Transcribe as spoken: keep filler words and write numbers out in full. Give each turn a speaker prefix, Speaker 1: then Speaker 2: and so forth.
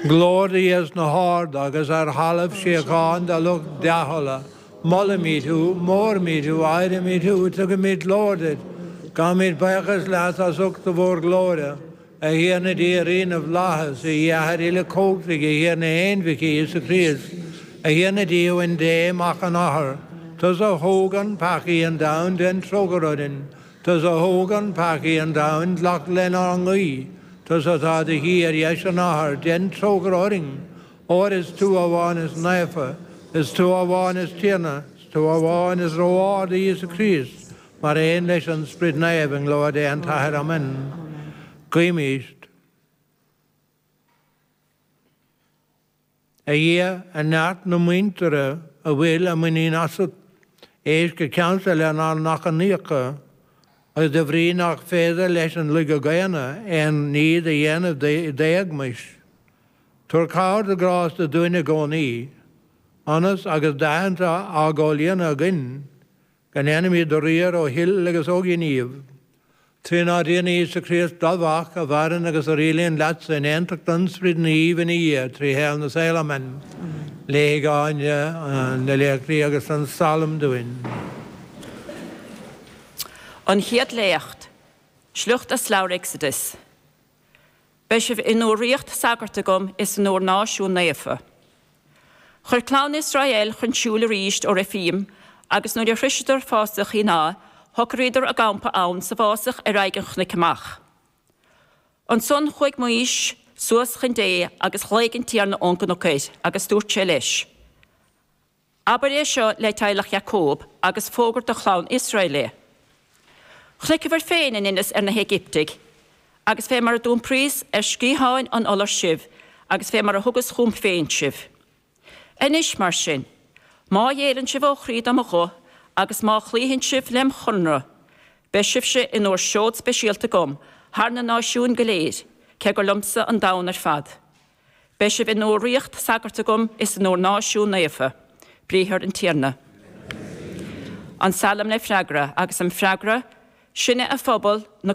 Speaker 1: Glóir do Dhia sna harda agus ar thalamh síocháin do lucht dea-thola. Molaimid thú, móraimid thú, adhraimid thú, tugaimid glóir duit. Gabhaimid buíochas leat as ucht do mhórghlóire, a Thiarna Dia Rí na bhFlaitheas, a Athair uilechumhachtaigh, a Thiarna Aonmhic Íosa Críost, a Thiarna Dia Uain Dé, Mac an Athar. Tusa a thógann peacaí an domhain, déan trócaire orainn. Tusa a thógann peacaí an domhain, glac lenár nguí. Tusa atá i do shuí ar dheis an Athar, déan trócaire orainn. Óir is tú amháin is naofa, is tú amháin is Tiarna, is tú amháin is ró-ard, a Íosa Críost, mar aon leis an Sprid Naomh i nglóir Dé an tAthair. Amen. Guímis. A Dhia, a neart na muintire a bhfuil a muinín asat, éist go ceansa lenár n-achainíocha, agus de bhrí nach féidir leis an laige dhaonna aon ní a dhéanamh d'éagmais, tabhair cabhair do ghrásta dúinn i gcónaí, ionas, agus d'aitheanta á gcomhlíonadh againn, go ndéanfaimid do riar ó thoil agus ó ghníomh. Trínár dTiarna Íosa Críost, do Mhac, a mhaireann agus a rialaíonn leatsa in aontacht an Sprid Naoimh ina Dhia, trí shaol na saol. Amen. Léifidh Áine na léachtaí agus an Salm dúinn.
Speaker 2: An Chéad Léacht, Sliocht as Leabhar Exodus. Beidh sibh in bhur ríocht sagart agam is in bhur náisiún naofa. Chuir clann Iosrael chun siúil arís ó Reifím agus nuair a shroiseadar fásach Shíonái, shocraíodar a gcampa ann sa bhfásach ar aghaidh an chnoic amach. Ansan chuaigh Maois suas chun Dé agus ghlaoigh an Tiarna ón gcnoc air agus dúirt sé leis, Abair é seo le teaghlach Iacóib agus fógair do chlann Iosrael é. Chonaiceabhair féin a ndeineas ar na hÉigiptigh, agus fé mar a d'iompraíos ar sciatháin an iolair sibh agus fé mar a thugas chugam féin sibh. Anois, mar sin, má ghéilleann sibh ó chroí do mo ghuth agus má chloífeann sibh lem chonradh, beidh sibhse in bhur seod speisialta agam thar na náisiúin go léir, cé gur liomsa an domhan ar fad. Beidh sibh in bhur ríocht sagart agam is in bhur náisiún naofa. Briathar an Tiarna. An Salm le freagra, agus an freagra, Sinne a phobal, na.